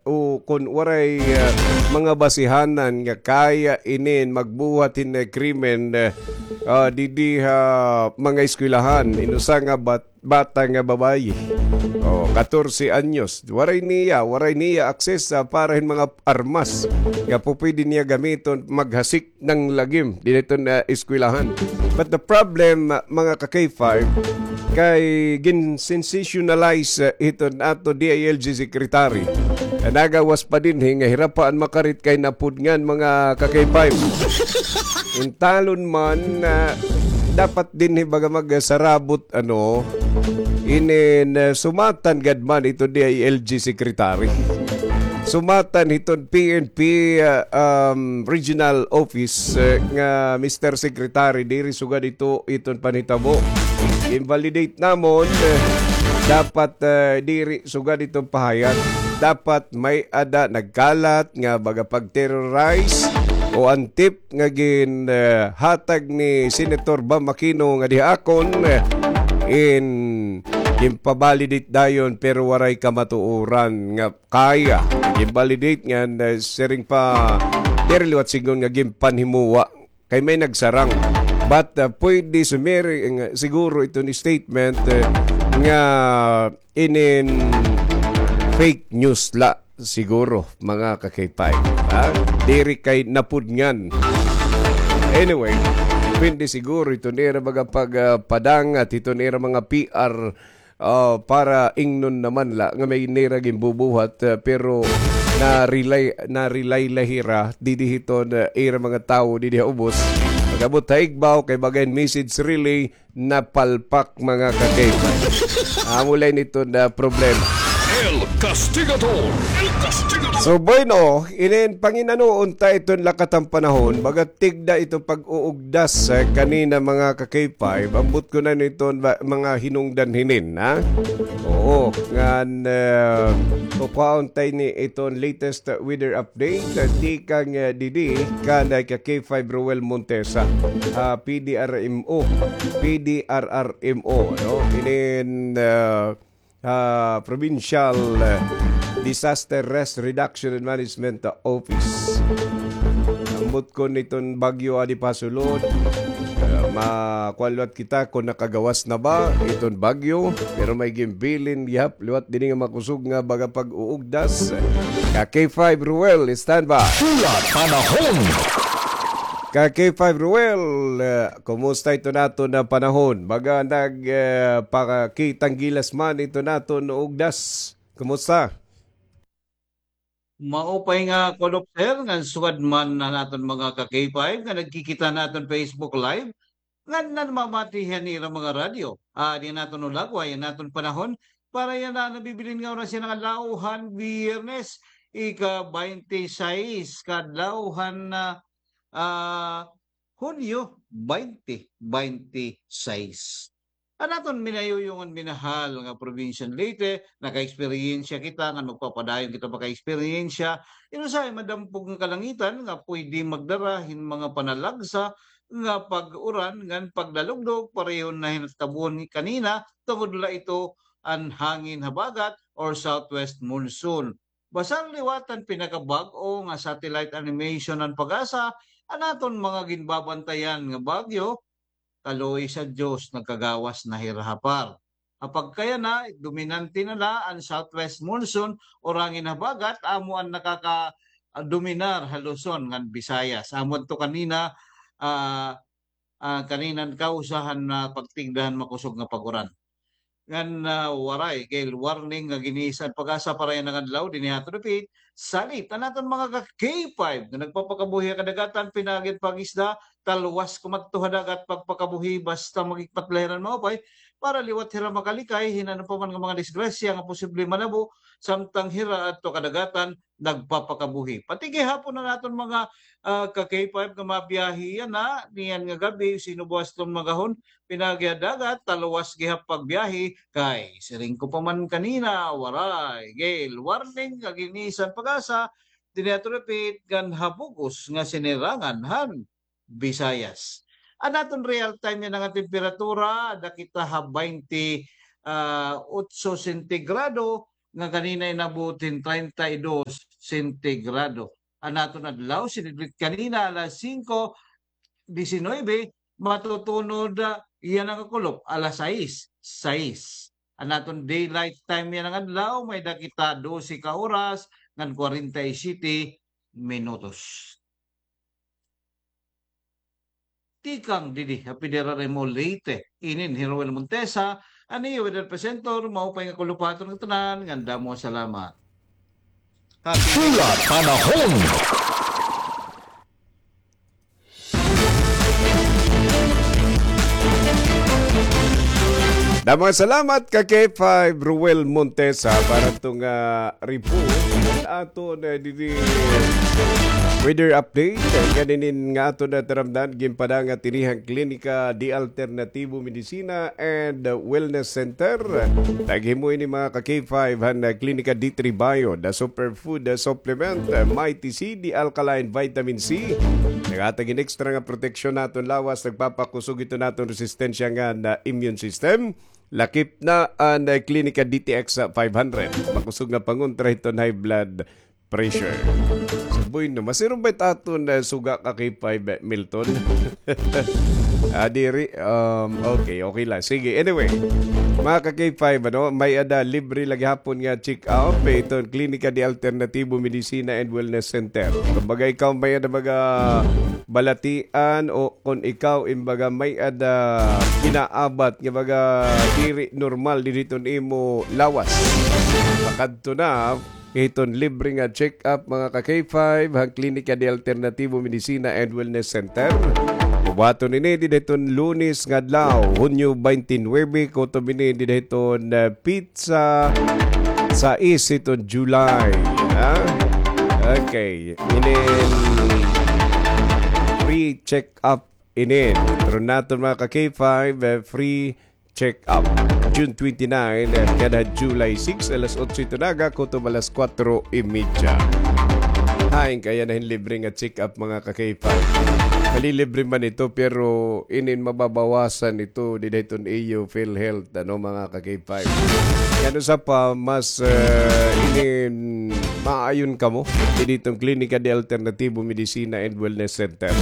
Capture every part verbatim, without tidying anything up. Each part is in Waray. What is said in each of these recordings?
o kon waray, ah, mga basihanan nga kaya inin magbuhat hin, eh, krimen, eh, ah, didi ha mga eskwelahan. Inusa nga bat-, bata nga babayi. Oh, katorse anyos. Waray niya, waray niya access, ah, para hin mga armas nga pupwede niya gamiton maghasik ng lagim didto na eskwelahan. But the problem, ah, mga ka-K five, kay gin-sensationalize, ah, hiton ato D I L G secretary. Ah, nagawas pa dinhi nga hira pa an makarit kay napudngan, mga ka-K five. Intalon man, ah, dapat dinhi baga magsarabot, ano, inin, ah, sumatan gad man ito D I L G secretary. Sumatan hiton P N P, ah, um, regional office, ah, nga Mister Secretary, diri sugad ito iton panhitabo. Invalidate namon, ah, dapat, ah, diri sugad iton pahayag. Dapat may-ada nagkalat nga baga pag-terrorize o an tip nga gin, ah, hatag ni Senator Bam Aquino nga diha akon, ah, in, ginpa-validate dayon pero waray kamatuoran nga kaya. Ginvalidate ngan, ah, siring pa, diri liwat sidngon nga ginpanhimuwa kay may nagsarang. But, ah, pwede sumiring, ah, siguro iton statement, ah, nga inin fake news la siguro, mga ka-K five. Ha? Diri kay napudngan. Anyway, pwede siguro iton ira mga pag, ah, padangat, iton ira mga P R, ah, para ingnon naman la nga may nira ginbubuhat, ah, pero na-rely, na-rely la hira didi hiton, ah, ira mga tawo didi ha ubos. Pag-abot ha igbaw kay baga hin message relay napalpak, mga ka-K five. Amo la ini iton problema. El Castigador. El Castigador. So, bueno, inin panginanoon ta iton lakat han panahon, baga tigda iton pag-uugdas, eh, kanina, mga ka-K five, ambot ko na niton ba, mga hinungdan hinin, ha? Oo, ngan, eh, kukuhaon ta ini iton latest weather update, eh, tikang, eh, didi kan, eh, ka-K five Roel Montesa, ah, P D R M O, P D R R M O, no? Inin, eh, ah, Provincial, eh, Disaster Risk Reduction and Management Office. Ambot kon iton bagyo adi pasulod, eh, makuan liwat kita kon nakagawas na ba iton bagyo, pero may ginbilin gihap liwat dinhi nga makusog nga baga pag-uugdas. Ka-K five Ruel, standby. Pula Panahon. Ka-K five Ruel, eh, kumusta iton aton nga panahon? Baga nag, eh, pakakitang gilas man iton aton ugdas. Kumusta? Maupay nga kulop, sir, ngan sugad man an aton mga ka-K five nga nagkikita han aton Facebook Live, ngan namamati han ira mga radyo. Ah, diri naton ulagway an aton panahon para yana nabibilin nga oras yana nga adlaw han Biyernes, ika-baynte sais ka adlaw han, ah, ah, Hunyo baynte baynte sais. An aton minayuyong ngan minahal nga probinsya han Leyte, nakaeksperyensya kita ngan magpapadayon kita makaeksperyensya hin usahay madampog nga kalangitan nga pwede magdara hin mga panalagsa nga pag-uran ngan pagdalugdog, pareho na hin natabon kanina, tungod la ito an hangin habagat or southwest monsoon. Basta liwat an pinakabag-o nga satellite animation han PAGASA, an aton mga ginbabantayan nga bagyo, kaluoy sa Diyos, nagkagawas na hira ha PAR. Ha pagkayana, dominante na la an southwest monsoon or hangin habagat, amo an nakaka-, ah, dominar ha Luzon ngan Visayas. Amo adto kanina, ah, ah, kanina an kawsa han, ah, pagtigda han makusog nga pag-uran. Ngan, ah, waray gale warning nga ginisa han PAGASA para yana nga adlaw dinhi ha aton dapit. Salit an aton mga ka-K five nga nagpapakabuhi ha kadagatan, pinaagi han pag-isda, talwas kumadto ha dagat pagpakabuhi basta maghikmat la hira hin maupay para liwat hira makalikay hin ano pa man nga mga disgrasya nga posible manabo samtang hira adto ha kadagatan nagpapakabuhi. Pati gihapon an aton mga, ah, ka-K five nga mabiyahe yana niyan nga gab-i, sino buwas ton magahon, pinaagi ha dagat, talwas gihap pagbiyahe, kay siring ko pa man kanina, waray gale warning nga ginisa han PAGASA dinhi ha aton dapit ngan ha bug-os nga sinirangan han Visayas. An aton real time yana nga temperatura, ada kita ha baynte, ah, otso sentigrado, nga kanina inabot hin treinta y dos sentigrado. An aton adlaw, sinidlit kanina alas singko disinuybe, matutunod, ah, yana nga kulop, alas sais, sais. An aton daylight time yana nga adlaw, may-ada kita dose ka oras ngan kwarenta y siyete minutos. Tikang didi ha Federal M O Leyte, inin hi Roel Montesa, an iyo weather presenter, maupay nga kulop ha aton ngatanan, ngan damo nga salamat. Happy Pula Panahon. Damo nga salamat ka K five Ruel Montesa para hito nga report. Aton, eh, didi weather update. Kaninin nga aton nataramdan, ginpadangat ini han Klinika de Alternativo Medicina and Wellness Center. Naghimo ini mga ka K five han, eh, Klinika D three Bio, the superfood, eh, supplement, eh, Mighty C, the alkaline vitamin C. Naghatag hin extra nga proteksyon ha aton lawas, nagpapakusog hito han aton resistensya ngan, ah, immune system. Lakip na an, ah, Klinika D T X five hundred. Makusog nga pangontra hiton high blood pressure. So, bueno, masirom ba it aton, ah, suga ka K five, eh, Milton? Ah, diri. Um, okay, okay la. Sige, anyway. Mga ka K five, ano, may-ada libre la gihapon nga check-up, eh, hiton Klinika de Alternativo Medicina and Wellness Center. Kumbaga, ikaw may-ada baga balatian o kon ikaw, imbaga, may-ada inaabat nga baga diri normal didi hiton imo lawas, makadto na hiton libre nga check-up, mga ka K five, han Klinika de Alternativo Medicina and Wellness Center. Bubuhaton ini didi hiton Lunes nga adlaw, Hunyo twenty-nine, kutob ini didi hiton, eh, petsa sais hiton July. Ha? Okay. Inin free check-up inin. Pero naton mga ka K five, eh, free check-up. June twenty-nine, eh, kada July six, alas otso ito naga, kutob alas kuwatro y media. Hain kaya na hin libre nga check-up, mga ka K five. Malilibre man ito, pero inin mababawasan ito didi hiton iyo PhilHealth, ano, mga ka K five. Kay ano sa pa, mas, eh, inin maayon kamo didi hiton Klinika de Alternativo Medicina and Wellness Center.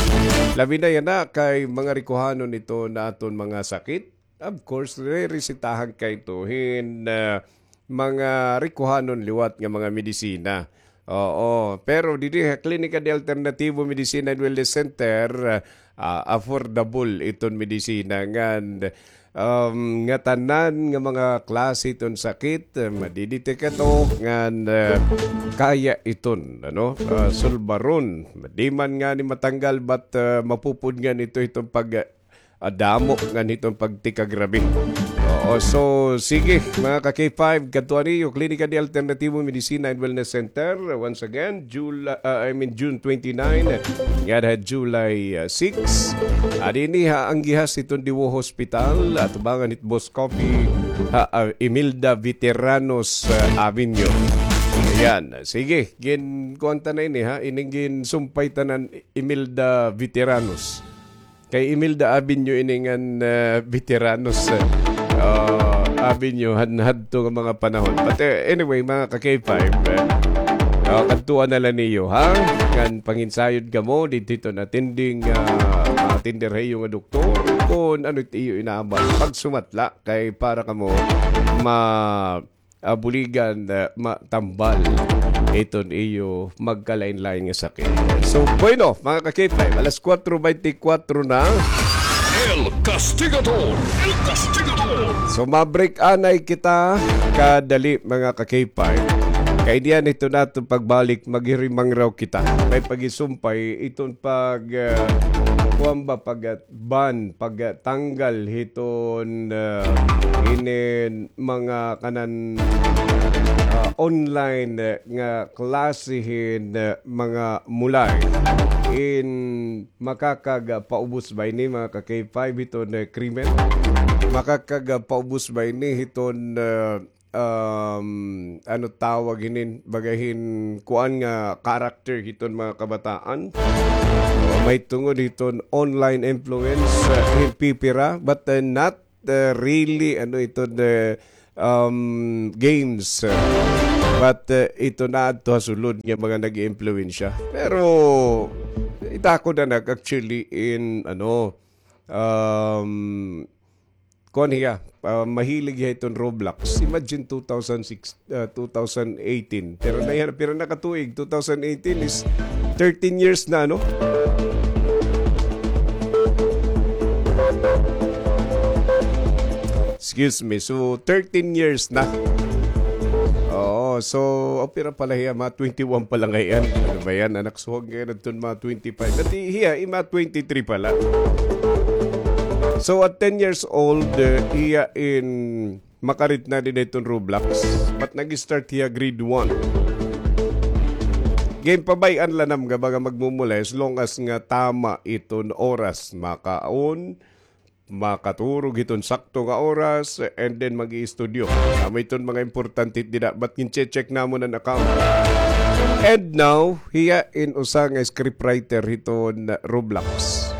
Labi na yana kay mga rikuhanon ito na aton mga sakit. Of course, re-resetahan kay ito hin, ah, mga rikuhanon liwat nga mga medisina. Oo, pero didi ha Klinika de Alternativo Medicina and Wellness Center, ah, affordable iton medisina ngan, um, ngatanan nga mga klase iton sakit, eh, madidetect ito ngan, eh, kaya iton, ano, ah, sulbaron. Di man ngani matanggal, but, ah, mapupud ngani ito iton pag, ah, damo ngan hiton pagtikagrabe. Oo, so, sige, mga ka K five, kadtuan niyo, Klinika de Alternativo Medicina and Wellness Center. Once again, Jul-, ah, I mean, June twenty-nine, ngada July, ah, six. Adi ini ha anggihas hiton Diwo Hospital, atubangan hit Boss Coffee, ha, ah, Imelda Veteranos, ah, Avenue. Ayan, sige, gin-, kuan ta na ini, ha, ining ginsumpay tanan Imelda Veteranos. Kay Imelda Avenue ini ngan, ah, Veteranos, ah, Avenue han hadto nga mga panahon. But, eh, anyway, mga ka K five, eh, ah, kadtuan na la niyo, ha? Ngan panginsayod kamo didto hiton attending, ah, attender ha iyo nga doktor kon ano it iyo inaabat. Pagsumat la kay para kamo ma- ah, buligan, ah, matambal iton iyo magkalain-lain nga sakit. So, bueno, mga ka K five, alas kuwatro beintikwatro na. El Castigador! El Castigador! So, ma-break anay kita kadali, mga ka K five. Kay niyan ito naton pagbalik, maghirimang raw kita. May pagisumpay iton pag, ah, kuwan ba, pag, ah, ban, pagtanggal hiton, ah, inin mga kanan, ah, online, ah, nga klase hin, ah, mga mulay. In makakagapaubos ba ini, mga ka K five, hiton, ah, krimen? Makakagapaubos ba ini hiton, ah, um, ano tawag hinin, baga hin kuan nga character hiton mga kabataan. O, mahitungod hiton online influence, uh, hin pipira, but, uh, not, uh, really, ano, iton, uh, um, games. But, uh, ito na adto ha sulod nga mga nag-iimpluwensya. Pero, ita ko na nag-, actually in, ano, um, kuan hiya, ah, mahilig hiya iton Roblox. Imagine two thousand six, ah, two thousand eighteen. Pero na, pero na ka tuig, two thousand eighteen is thirteen years na, no? Excuse me. So, thirteen years na. Oo, so, opera pala hiya, mga twenty-one pa la ngay-an. Ano ba yan? Anak suhag ngay-an adton mga twenty-five. Dati hiya, ima twenty-three pala. So, at ten years old, uh, iya in makarit na dinhi hiton Roblox. But nag-start hiya grade one. Ginpabay-an la nam nga baga magmumulay as long as nga tama iton oras. Makaon, makaturog hiton sakto nga oras, and then mag-iistudyo. Amo iton mga importante dida, but gin-check namon an account. And now, hiya in usa nga scriptwriter hiton Roblox.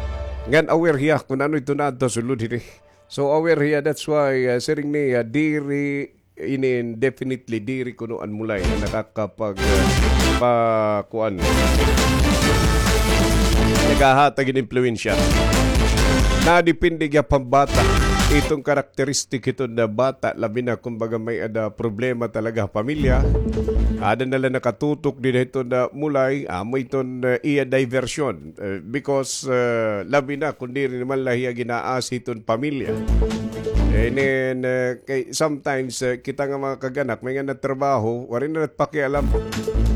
Ngan aware hiya kun ano iton adto sulod hini. So aware hiya, that's why, uh, siring niya, diri ini definitely diri kuno an mulay nga nakakapag, uh, pa, kuan. Naghahatag hin impluwensya. Nadepende gihap han bata. Iton karakteristik hiton nga bata, labi na kumbaga may-ada problema talaga ha pamilya. Ada na la nakatutok dinhi hiton nga mulay, amo iton, uh, iya diversion. Uh, because, uh, labi na kun diri naman la hiya gin-aasi hiton pamilya. And then, uh, kay sometimes, uh, kita nga mga kag-anak, may nga nagtrabaho, waray na nagpakialam.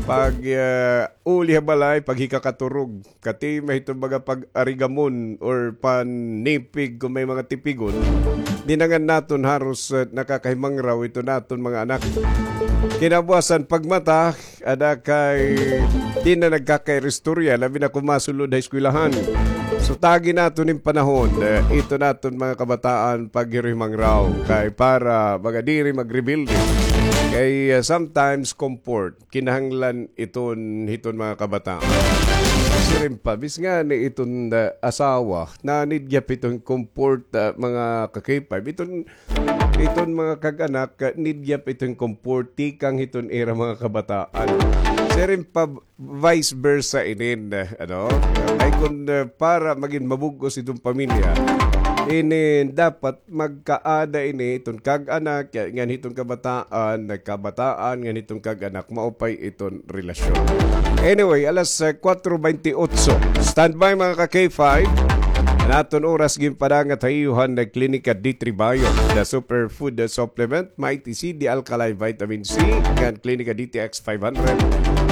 Pag, uh, uli ha balay, paghikakaturog, katima hiton baga pag-arigamon or panipig kun may mga tipigon, dinangan naton haros, uh, nakakahimangraw iton aton mga anak. Kinabuwasan pagmata, ada kay di na nagkakairistorya, labi na kun masulod ha eskwelahan. So, tagi naton hin panahon, eh, iton aton mga kabataan paghiruhimangraw kay para baga diri magrebelde. Kay, eh, sometimes comfort, kinahanglan iton hiton mga kabataan. Siring pa, bisan ngani iton, eh, asawa, na-need gihap iton comfort, eh, mga ka-K five. Iton Iton mga kag-anak, ah, need gihap iton comfort tikang hiton ira mga kabataan. Siring pa vice versa inin, ah, ano? Ay kun, ah, para magin mabug-os iton pamilya, inin dapat magkaada ini iton kag-anak, ya, ngan hiton kabataan, nagkabataan, ngan hiton kag-anak, maupay iton relasyon. Anyway, alas, ah, kuwatro bente otso. Standby, mga ka-K five. An aton oras ginpadangat ha iyo han Klinika D three Bio, the superfood supplement, Mighty C, the alkaline vitamin C, ngan Klinika D T X five hundred,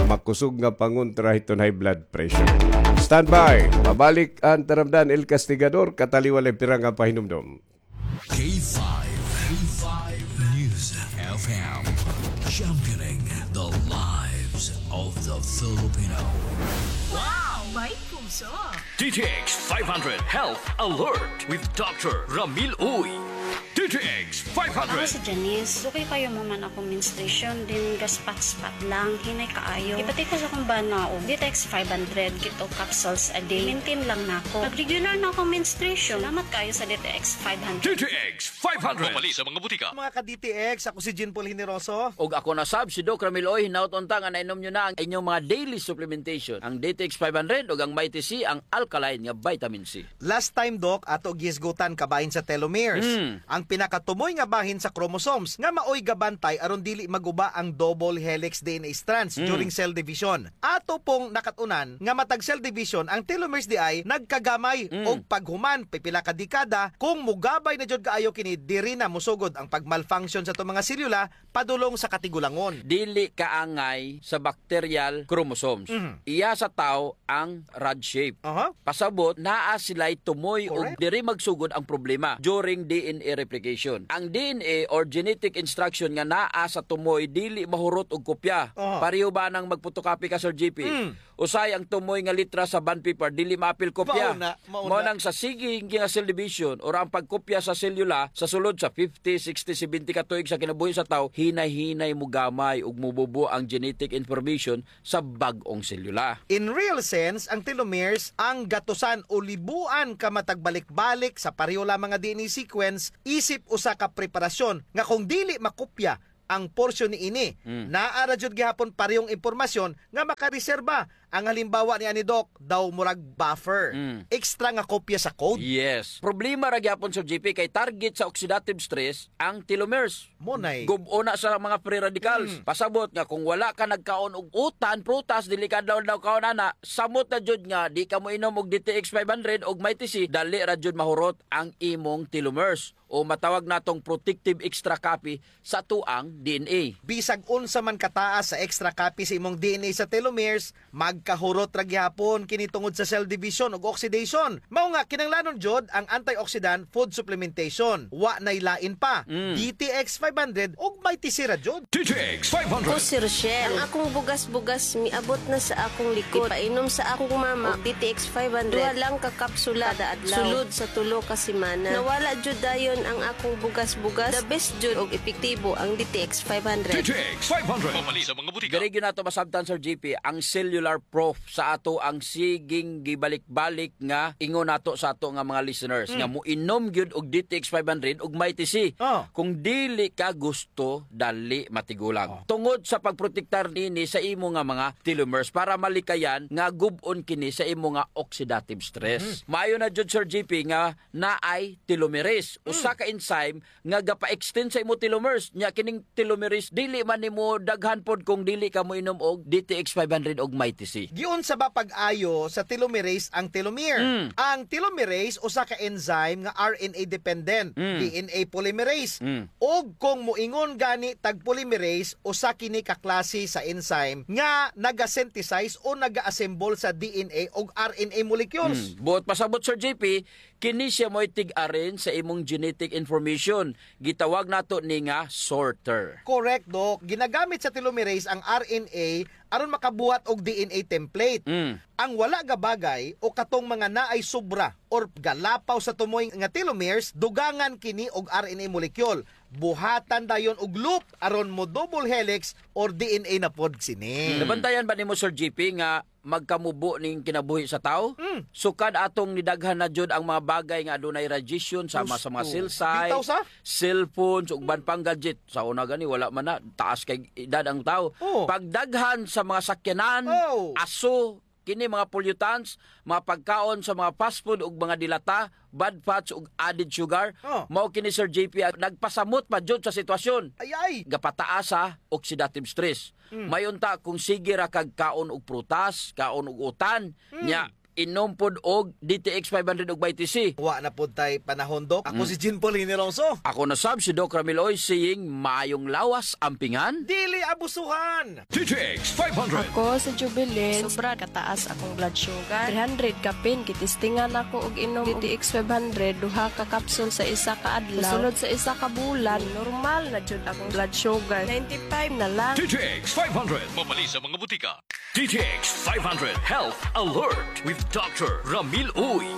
makusog nga pangontra hiton high blood pressure. Standby, mabalik an taramdan, El Castigador, kataliwan la pira nga pahinumdom. K five, K five News F M, championing the lives of the Filipino. Wow! May puso! D T X five hundred Health Alert with Doctor Ramil Uy. D T X five hundred. Ako si Janice. Dukay kaayo man akon menstruation, then gaspat-spat lang, hinay kaayo. Ipati ko sa akon bana, o, D T X five hundred, keto capsules a day. Maintain lang nako. Nag-regular na akon menstruation. Salamat kaayo sa D T X five hundred. D T X five hundred. Mapalit sa mga butika. Mga ka-D T X, ako si Jean Paul Generoso. Ug ako na sab, si Doc Ramil Uy. Hinaot unta nga nainom niyo na ang inyong mga daily supplementation, ang D T X five hundred ug ang Mighty C, ang alkaline nga vitamin C. Last time, Doc, ato gihisgutan kabahin sa telomeres. Mm. Ang pinakatumoy nga bahin sa chromosomes nga maoy gabantay aron dili maguba ang double helix D N A strands, mm, during cell division. Ato pong nakat-unan nga matag cell division, ang telomeres diay nagkagamay, mm, og paghuman pipila ka dekada, kung mogabay na jud kaayo kini, diri na mosugod ang pag-malfunction sa ato mga selula padulong sa katigulangon. Dili kaangay sa bacterial chromosomes. Mhm. Iya sa tawo ang rod shape. Aha. Pasabot, naa sila'y tumoy ug, correct, diri magsugod ang problema during D N A replication. Ang D N A or genetic instruction nga naa sa tumoy dili mahurot og kopya. Aha. Pareho ba nang magpotokopy ka, Sir G P? Mm. Usahay ang tumoy nga litra sa bond paper, dili maapil kopya. Mao na, mao na. Mao nang sa sige nga cell division, or ang pagkopya sa selula sa sulod sa fifty, sixty, seventy ka tuig sa kinabuhi sa tawo, hinay-hinay mogamay ug mobubo ang genetic information sa bag-ong selula. In real sense, ang telomeres, ang gatusan o libuan ka matag balik-balik sa pareho lamang nga D N A sequence, isip usa ka preparasyon nga kung dili makopya ang porsyon niini, mm, naa ra jud gihapon parehong impormasyon nga makareserba. Ang halimbawa niani, Doc, daw murag buffer. Mm. Extra nga kopya sa code. Yes. Problema ra gihapon, Sir G P, kay target sa oxidative stress ang telomeres. Mao nay. Gub-on na sa mga free radicals. Mm. Pasabot nga kung wala ka nagkaon og utan, prutas, dili ka adlaw-adlaw kaon ana, samot na jud nga di ka moinom og D T X five hundred og Mighty C, dali ra jud mahurot ang imong telomeres, o matawag natong protective extra copy sa atoang D N A. Bisag unsa man kataas sa extra copy sa imong D N A sa telomeres, magkahurot ra gihapon kini tungod sa cell division ug oxidation. Mao nga, kinahanglanon jud ang antioxidant food supplementation. Wa nay lain pa, mm, D T X five hundred ug Mighty C ra jud. D T X five hundred. Ako si Rochelle. Ang akong bugas-bugas miabot na sa akong likod. Ipainom sa akong mama og D T X five hundred. Duha lang ka kapsula kada adlaw. Sulod sa tulo ka semana. Nawala jud dayon ang akong bugas-bugas. The best jud og epektibo ang D T X five hundred. D T X five hundred. Mapalit sa mga butika. Diri gyud nato masabtan, Sir G P, ang cellular proof sa atoang siging gibalik-balik nga ingon nato sa ato nga mga listeners, mm, nga moinom gyud og D T X five hundred ug Mighty C. Oh. Kung dili ka gusto, dali matigulang. Oh. Tungod sa pagprotektar nini sa imo nga mga telomeres para malikayan nga gub-on kini sa imo nga oxidative stress. Mm. Maayo na jud, Sir G P, nga naay telomerase, mm, usa ka enzyme nga gapa-extend sa imo telomeres. Nya kining telomerase, dili man nimo daghan pod kung dili ka moinom og D T X five hundred og Mighty C. Giunsa ba pag-ayo sa telomerase ang telomere? Mm. Ang telomerase, usa ka enzyme nga R N A dependent, mm, D N A polymerase. Mm. Ug kung moingon gani tag polymerase, usa kini ka klase sa enzyme nga naga-synthesize o naga-assemble sa D N A ug R N A molecules. Mm. Buot pasabot, Sir J P, kini siya mo'y tig-arrange sa imong genetic information. Gitawag nato ni nga sorter. Correct, Doc. Ginagamit sa telomerase ang R N A aron makabuhat og D N A template. Mm. Ang wala gabagay o katong mga naay sobra or galapaw sa tumoy nga telomeres, dugangan kini og R N A molecule. Buhatan dayon og loop aron mo double helix or D N A na pod sini. Mm. Nabantayan ba nimo, Sir J P, nga magkamubo ning kinabuhi sa tawo? Mm. Sukad atong nidaghan na jud ang mga bagay nga adunay radiation, sama sa mga cell site, bitaw sa cellphones, ug uban pang gadget. Sa una gani, wala man na, taas kay edad ang tawo. Oh. Pagdaghan sa mga sakyanan, oh, aso, kini mga pollutants, mga pagkaon sa mga fast food ug mga dilata, bad fats ug added sugar. Oh. Mao kini, Sir J P, ang nagpasamot pa jud sa sitwasyon. Ay, ay. Gapataas sa oxidative stress. Mm. May unta kung sige ra kag kaon og prutas, kaon og utan, mm, nya inom pod og D T X five hundred ug Mighty C. Wa na pod tay panahon, Doc. Ako, mm, si Jean Paul Hinilongso. Ako na sab si Doc Ramil Oy, saying, maayong lawas, ampingan. Dili abusuhan. D T X five hundred. Ako si Jubilin. Sobra kataas akong blood sugar. Three hundred kapin, gitistingan ako og inom D T X five hundred, duha ka kapsul sa isa ka adlaw. Sulod sa isa ka bulan, normal na jud akong blood sugar. Ninety-five na lang. D T X five hundred. Mapalit sa mga butika. D T X five hundred Health Alert with Doctor Ramil Uy.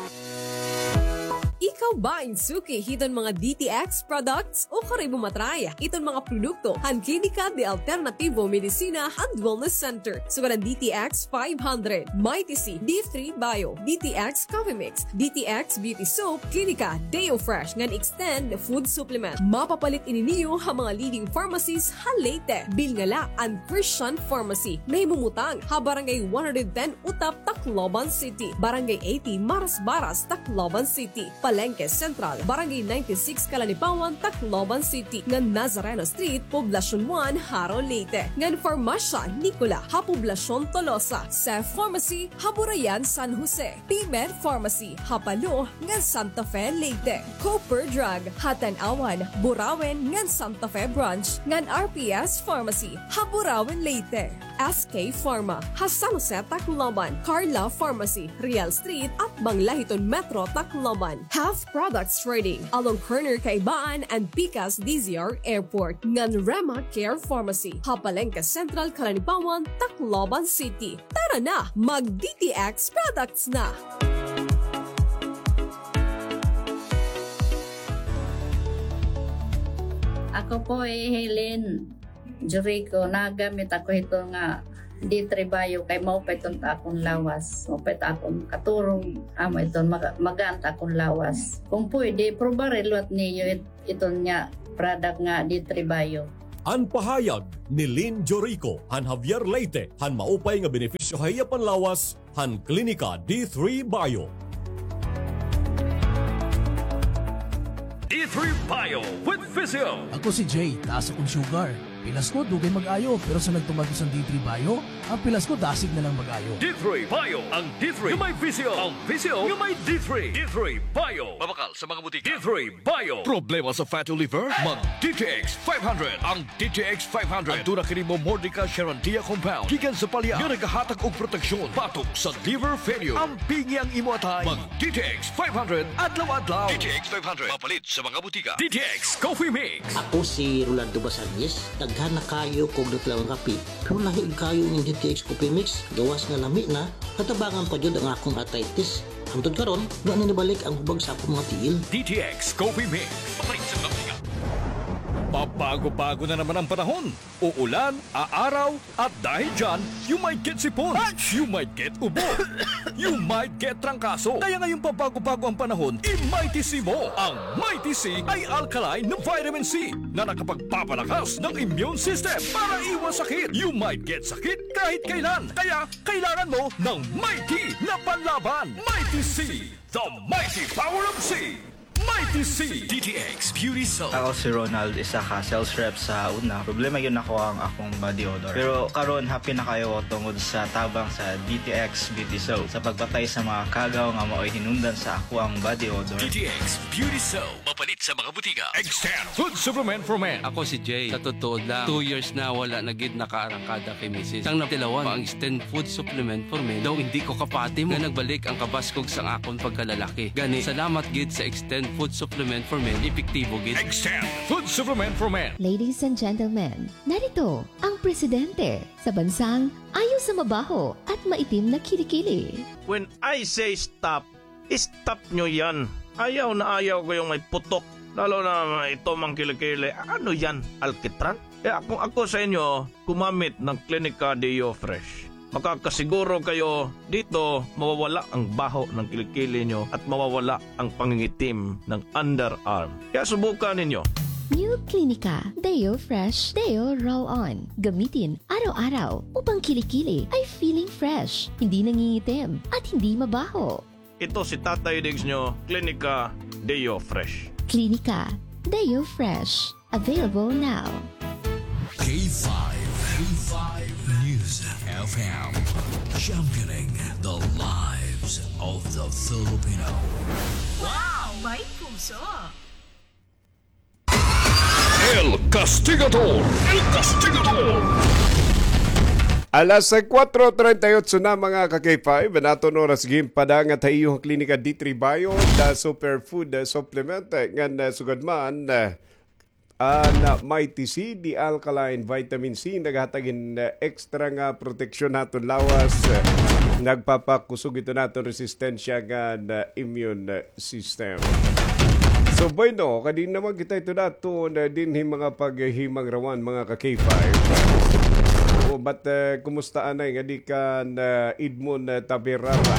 Ikaw ba in suki hiton mga D T X products? O kari mo matry iton mga produkto han Klinika de Alternativo Medicina and Wellness Center. Sugad an D T X five hundred, Mighty C, D three Bio, D T X Coffee Mix, D T X Beauty Soap, Klinika Deo Fresh ngan Extend Food Supplement. Mapapalit ini niyo ha mga leading pharmacies ha Leyte. Bilngala an Christian Pharmacy. Nahimumutang ha Barangay one hundred ten Utap, Tacloban City. Barangay eighty Marasbaras, Tacloban City. Palengke Central, Barangay ninety-six Calanipawan, Tacloban City. Ngan Nazareno Street, Poblacion one, Jaro, Leyte. Ngan Farmacia Nicola ha Poblacion Tolosa. Seth Pharmacy ha Burayan, San Jose. P-Med Pharmacy ha Palo ngan Santa Fe, Leyte. Cooper Drug ha Tanauan, Burauen ngan Santa Fe Branch, ngan R P S Pharmacy ha Burauen, Leyte. S K Pharma, ha San Jose, Tacloban, Carla Pharmacy, Real Street, atbang la hiton Metro, Tacloban. Health Products Trading, along corner Kaibaan and Pikas D Z R Airport, ngan Rema Care Pharmacy, ha Palengke Central, Calanibaon, Tacloban City. Tara na, mag D T X products na! Ako po hi Helen Jericho, nagamit ako hito nga D three Bio kay maupay iton ta akon lawas. Maupay ta akon katurog, amo iton maga-, magaan ta akon lawas. Kung pwede, probari liwat niyo it-, iton nga product nga D three Bio. An pahayag ni Lynn Jorico han Javier Leyte han maupay nga benepisyo ha iya panlawas han Klinika D three Bio. D three Bio with Physio. Ako si Jay, taas akon sugar. Pilas ko, dugay mag-ayo, pero sa nagtuman ko san D three Bio, an pilas ko dasig na lang mag-ayo. D three Bio, ang D three nga may Physio, ang Physio nga may D three. D three Bio. Mabakal sa mga butika. D three Bio. Problema sa fatty liver? Mag D T X five hundred. Ang D T X five hundred. Aduna kini momordica charantia compound gikan sa palya nga nagahatag og proteksyon batok sa liver failure. Ampingi ang imo atay. Mag D T X five hundred adlaw-adlaw. D T X five hundred. Mapalit sa mga butika. D T X Coffee Mix. Ako si Rolando Basanes. Daghan na kaayo ko og natlawan nga kape. Pero lahi kaayo ining D T X Coffee Mix. Gawas nga lami na, natabangan pa jud ang akong arthritis. Hangtod karon, wa na nibalik ang hubag sa akong mga tiil. D T X Coffee Mix. Papalit sa mga butika. Pabago-bago na naman ang panahon. Uulan, aaraw, at dahil dyan, you might get sipon, you might get ubo, you might get trangkaso. Kaya ngayong pabago-bago ang panahon, i-Mighty C mo. Ang Mighty C ay alkaline na vitamin C na nakapagpapalakas ng immune system para iwas sakit. You might get sakit kahit kailan. Kaya kailangan mo ng Mighty na panlaban. Mighty C, the mighty power of C. Mighty C. D T X Beauty Soap. Ako si Ronald, isa ka sales rep sa una. Problema gyud nako ang akong body odor. Pero karon, happy na kaayo ko tungod sa tabang sa D T X Beauty Soap sa pagpatay sa mga kagaw nga maoy hinungdan sa akoang body odor. D T X Beauty Soap. Mapalit sa mga butika. Extend Food Supplement for Men. Ako si Jay. Sa totoo lang, two years na wala na gid nakaarangkada kay misis. Sang natilawan pa ang Extend Food Supplement for Men, daw hindi ko kapati mo nga nagbalik ang kabaskog sang akon pagkalalaki. Gani, salamat gid sa Extend Food Supplement for Men, epektibo gid. Extend Food Supplement for Men. Ladies and gentlemen, narito ang presidente sa bansang ayaw sa mabaho at maitim na kilikili. When I say stop, stop nyo yan. Ayaw na ayaw ko yung may putok. Lalo na ito, mga kilikili. Ano yan? Alkitran? Kaya kung ako sa inyo, gumamit ng Klinika Deo Fresh. Makakasiguro kayo dito, mawawala ang baho ng kilikili nyo at mawawala ang pangingitim ng underarm. Kaya subukan ninyo. New Klinika Deo Fresh Deo Roll On. Gamitin araw-araw upang kilikili ay feeling fresh, hindi nangingitim, at hindi mabaho. Ito si Tatay Diggs nyo, Klinika Deo Fresh. Klinika Deo Fresh. Available now. K five, K five News F M, championing the lives of the Filipino. Wow! May puso! El Castigador! El Castigador! Alas kuwatro treinta y ocho na, mga ka-K five, an aton oras ginpadangat ha iyo ha Klinika D three Bio, the superfood, uh, supplement, uh, ngan, uh, sugad man, uh, an, uh, Mighty C, the alkaline vitamin C, naghatag hin, uh, extra nga proteksyon ha aton lawas, uh, nagpapakusog ito naton resistensya ngan, uh, immune, uh, system. So, bueno, kadi naman kita ito dato na dinhi mga paghimangruan, mga ka-K five. O, but, eh, kumusta anay nga di kan, eh, Edmond, eh, Taberara?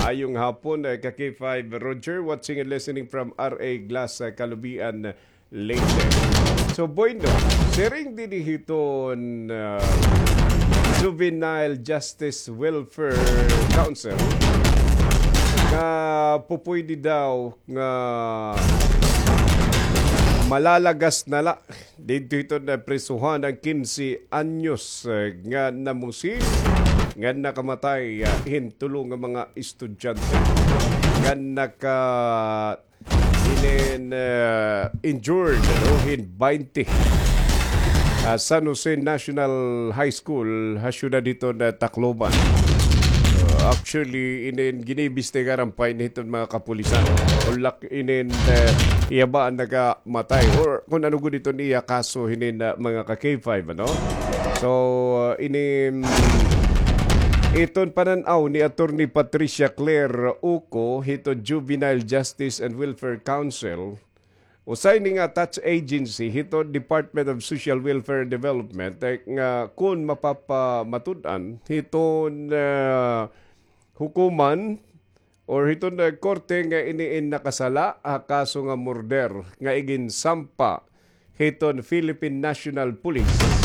Ayong hapon, eh, ka-K five Roger, watching and listening from R A Glass, eh, Kalubian, Leyte. So, bueno, siring dinhi hiton, ah, Juvenile Justice Welfare Council nga pupwede daw nga malalagas na la didto hiton naprisuhan an kinse anyos, eh, nga namusil nga nakamatay, ah, hin tulo nga mga estudyante nga naka- Inin, eh, injured, no, hin baynte. ah, San Jose National High School ha siyudad hiton, ah, Tacloban. Ah, actually, inin giniimbestigaran pa ini hiton mga kapulisan. Ulak inin, eh, iya ba an nakamatay or kun ano gud iton iya kaso hinin, ah, mga ka K five, ano? So, ah, inin, iton panan-aw ni Attorney Patricia Claire Uco hiton Juvenile Justice and Welfare Council, usa ini nga attached agency hiton Department of Social Welfare and Development, eh, nga kun mapapamatud-an hiton, ah, hukuman or hiton, ah, korte nga ini in nakasala ha kaso nga murder nga iginsampa hiton Philippine National Police.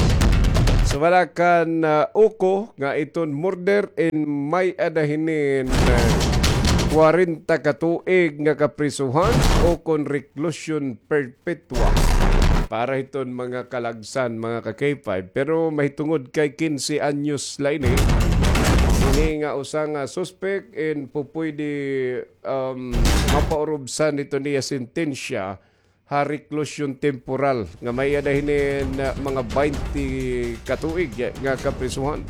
Sumala kan, ah, Uco nga iton murder in may-ada hinin, ah, kwarenta ka tuig nga kaprisuhan o kon reclusion perpetua para hiton mga kalagsan, mga ka K five. Pero mahitungod kay kinse anyos la ini, ini nga usa nga suspect in pupwede, um, mapaurubsan hiton iya sentensya ha reclusion temporal nga may-ada hinin, ah, mga baynte ka tuig nga kaprisuhan.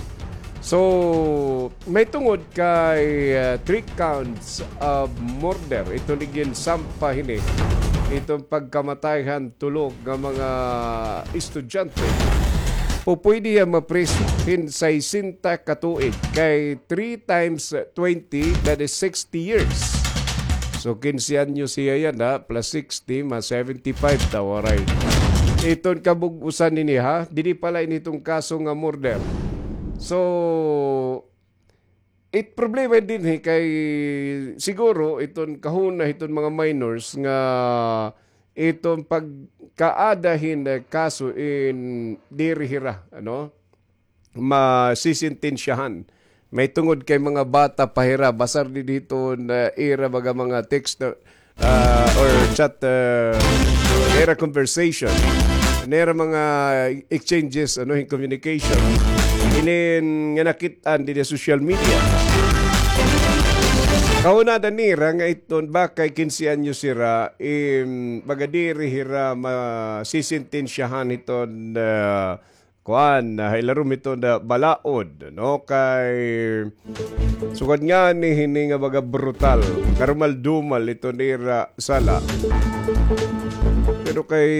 So, mahitungod kay, ah, three counts of murder, iton iginsampa hini, iton pagkamatay han tulo nga mga estudyante. Pupwede hiya mapriso hin sesenta ka tuig kay three times twenty, that is sixty years. So, kinse anyos hiya yana, plus sixty, ma seventy-five ta, waray. Iton kabug-osan nini, ha? Didi pa la ini hiton kaso nga murder. So, it problema dinhi kay siguro iton kahuna hiton mga minors nga iton pagkaada hin, eh, kaso in diri hira, ano? Masisentensyahan. Mahitungod kay mga bata pa hira, basar didi hiton ira baga mga text na, ah, or chat, ah, ira conversation. Nira mga exchanges, ano, in communication. Inin nga nakit-an didi social media. Kahunada nira nga iton bakay kinse anyos hira, im, baga diri hira masisentensyahan hiton, ah, kuan, ah, ha ilarom hiton, ah, balaod, no? Kay sugad ngani hini nga baga brutal, karumal-dumal iton ira sala. Pero kay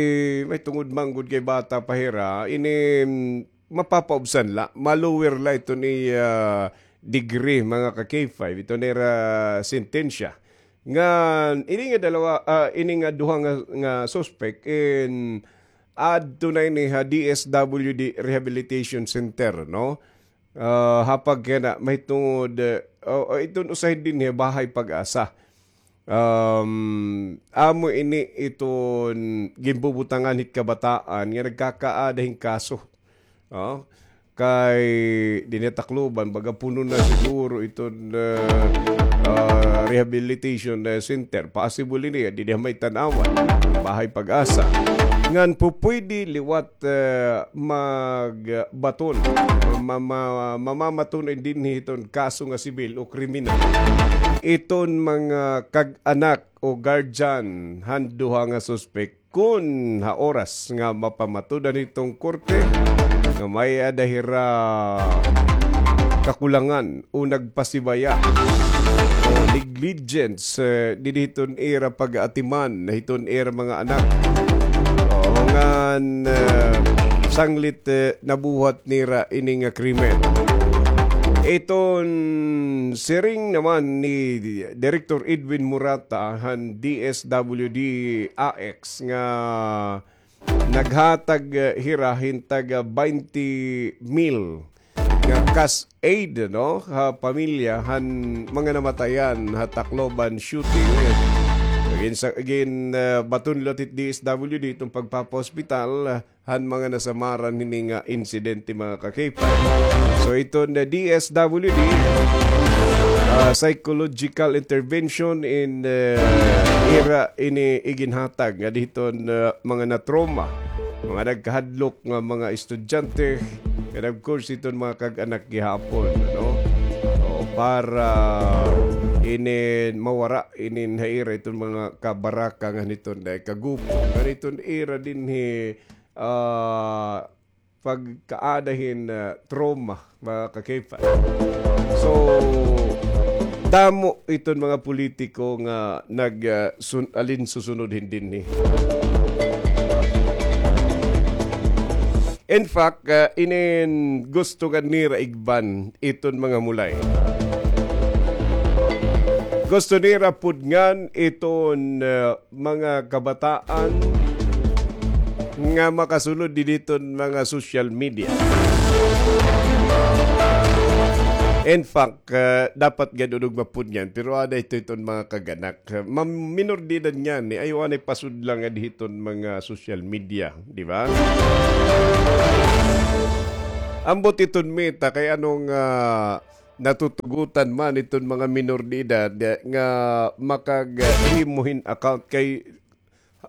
mahitungod man gud kay bata pa hira, ini, mm, mapapaubsan la, ma-lower la iton iya degree, mga ka K five, iton ira sentensya. Ngan ini nga dalawa, ah, ini nga duha nga, nga suspect in adto na ini ha D S W D Rehabilitation Center, no? Ah, ha pagkana mahitungod, eh, o, o, iton usahay dinhi Bahay Pag-asa. Um, amo ini iton ginbubutangan hit kabataan nga nagkakaada hin kaso. Oh, kay dinhi ha Tacloban, baga puno na siguro iton, ah, ah, rehabilitation, ah, center. Possible ini, dinhi ha may Tanauan, Bahay Pag-asa. Ngan pupwede liwat, ah, magbaton, ma-, ma-, mamamaton dinhi iton kaso nga sibil o kriminal. Iton mga kag-anak o guardian han duha nga suspek kun ha oras nga mapamatud-an hiton korte nga may-ada hira kakulangan o nagpasibaya o negligence, eh, didi hiton ira pag-aatiman hiton ira mga anak. O, ngan, eh, sanglit, eh, nabuhat nira ini nga krimen. Iton siring naman ni Director Edwin Murata han D S W D A X nga naghatag, eh, hira hin tag, ah, baynte mil nga cash aid, no, ha pamilya han mga namatayan ha Tacloban shooting. Gin-, gin-, ah, baton liwat hit D S W D iton pagpapahospital, ah, han mga nasamaran hini nga insidente, mga ka-K five. So, iton D S W D, ah, psychological intervention in, eh, ira ini iginhatag nga didi hiton, ah, mga na-trauma, mga nagkahadlok nga mga estudyante, and of course, iton mga kag-anak gihapon, no? O, para inin mawara inin ha ira iton mga kabaraka ngan hiton, eh, kagupo ngan hiton ira dinhi, ah, pagkaada hin, ah, trauma, mga ka-K five. So, damo iton mga politiko nga nag, ah, sun-, alin susunod hin dinhi. In fact, ah, inin gusto nga nira igban iton mga mulay. Gusto nira pudngan iton, ah, mga kabataan nga makasulod didi hiton mga social media. In fact, ah, dapat gad unod mapudngan, pero ada ito iton mga kaganak. Ma-, minor de edad niyan, eh. Ayaw anay pasudla ngadi hiton mga social media, di ba? Ambot iton Meta, kay ano nga natutugutan man iton mga minor de edad, eh, nga makaghimo hin account kay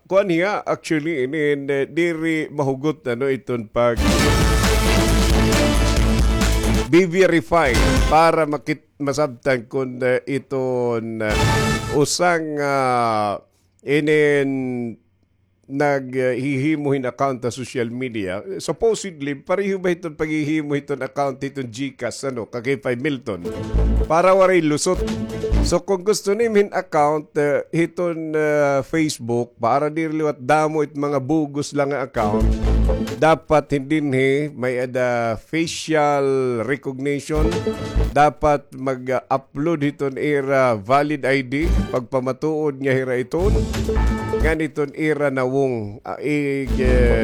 kuan hiya, actually, inin, eh, diri mahugot, ano, iton pag-verify para makit-, masabtan kun, eh, iton, eh, usa nga, ah, inin naghihimo hin account ha social media. Supposedly, pareho ba hiton paghihimo hiton account hiton GCash, ano, ka-K five Milton? Para waray lusot. So, kung gusto nimo hin account, eh, hiton, eh, Facebook, para diri liwat damo it mga bugos la nga account, dapat hin dinhi may-ada facial recognition, dapat mag-upload hiton ira valid I D, pagpamatuod nga hira iton, ngan iton ira nawong, ah, ig, eh,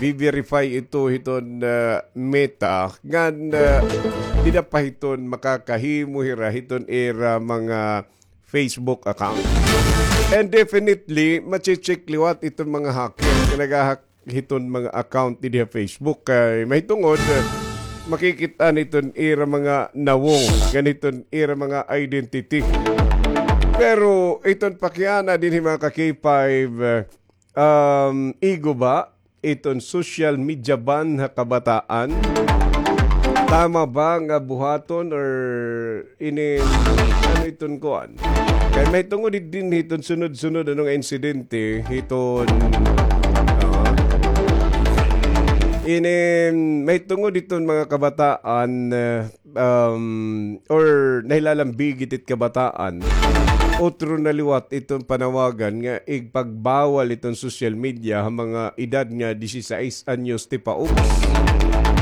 verify ito hiton, ah, Meta, ngan, ah, dida pa hiton makakahimo hira hiton ira mga Facebook account. And definitely, mache-check liwat iton mga hacker nga nagahack hiton mga account didi ha Facebook. Kay mahitungod, eh, makikit-an hiton ira mga nawong, ngan hiton ira mga identity. Pero iton pakiana dinhi, mga ka-K five, eh, um, igo ba iton social media ban ha kabataan? Tama ba nga buhaton or inin, ano iton kuan? Kay mahitungod dinhi hiton sunod-sunod, ano, nga insidente hiton, ah, inin mahitungod hiton mga kabataan, eh, um, or nahilalambigit it kabataan, utro na liwat iton panawagan nga igpagbawal iton social media ha mga edad nga disisais anyos tipaubos.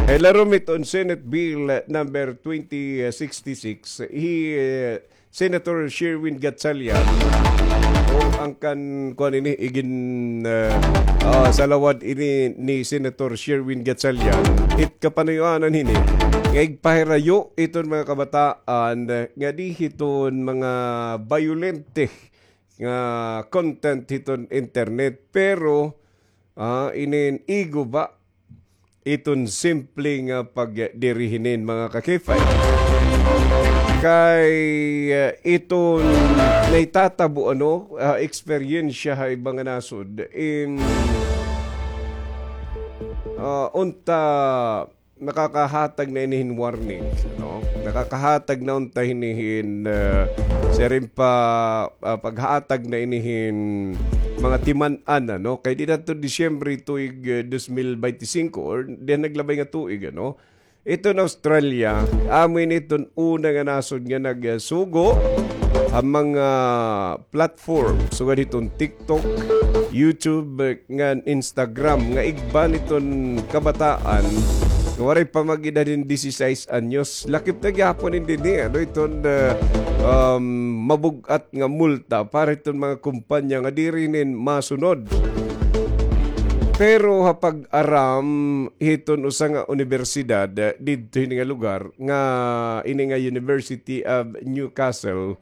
Kay larom iton Senate Bill number twenty sixty-six, hi, eh, Senator Sherwin Gatchalian, o an kan, kuan ini, igin, eh, ah, salawad ini ni Senator Sherwin Gatchalian, it kapanuyoanan hini nga igpahirayo iton mga kabataan, eh, ngadi hiton mga bayolente nga content hiton internet. Pero, ah, inin igo ba iton simple nga pagdiri hinin, mga ka-K five? Kay, eh, iton nahitatabo, ano, ah, eksperyensya ha iba nga nasod in, ah, unta nakakahatag na ini hin warning, no? Nakakahatag na unta hini hin, ah, siring pa, ah, paghatag na ini hin mga timan-an, ano? Kay dida to Disyembre tuig, ah, dos mil bente singko, or dihan naglabay nga tuig, ano? Iton Australia, amo ini iton una nga nasod nga nagsugo ha mga platform, sugad hiton TikTok, YouTube, ngan Instagram nga igban iton kabataan nga waray pa mag-edad hin disisais anyos. Lakip na gihapon ini dinhi, ano, iton, ah, um, mabug-at nga multa para hiton mga kumpanya nga diri hinin masunod. Pero ha pag-aram hiton usa nga unibersidad, ah, didto hini nga lugar, nga ini nga University of Newcastle,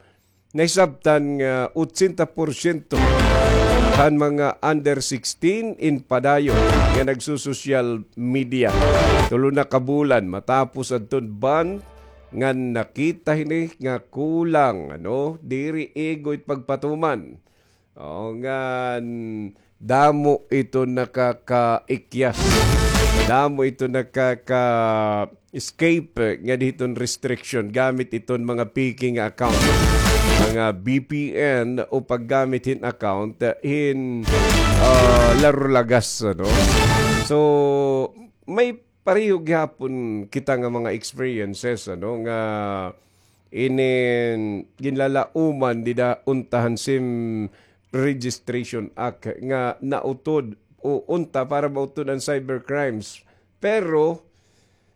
nahisabtan nga otsenta porsyento han mga under sixteen in padayon nga nagsusosyal media. Tulo na ka bulan matapos adton ban, ngan nakita hini nga kulang, ano, diri igo it pagpatuman. O, ngan damo ito nakakaikyas. Damo ito nakaka-escape ngadi hiton restriction gamit iton mga fake nga account, mga V P N o paggamit hin account hin, ah, larulagas, ano? So, may pareho gihapon kita nga mga experiences, ano, nga inin ginlalauman dida unta han SIM Registration Act nga nautod o unta para mautod an cybercrimes. Pero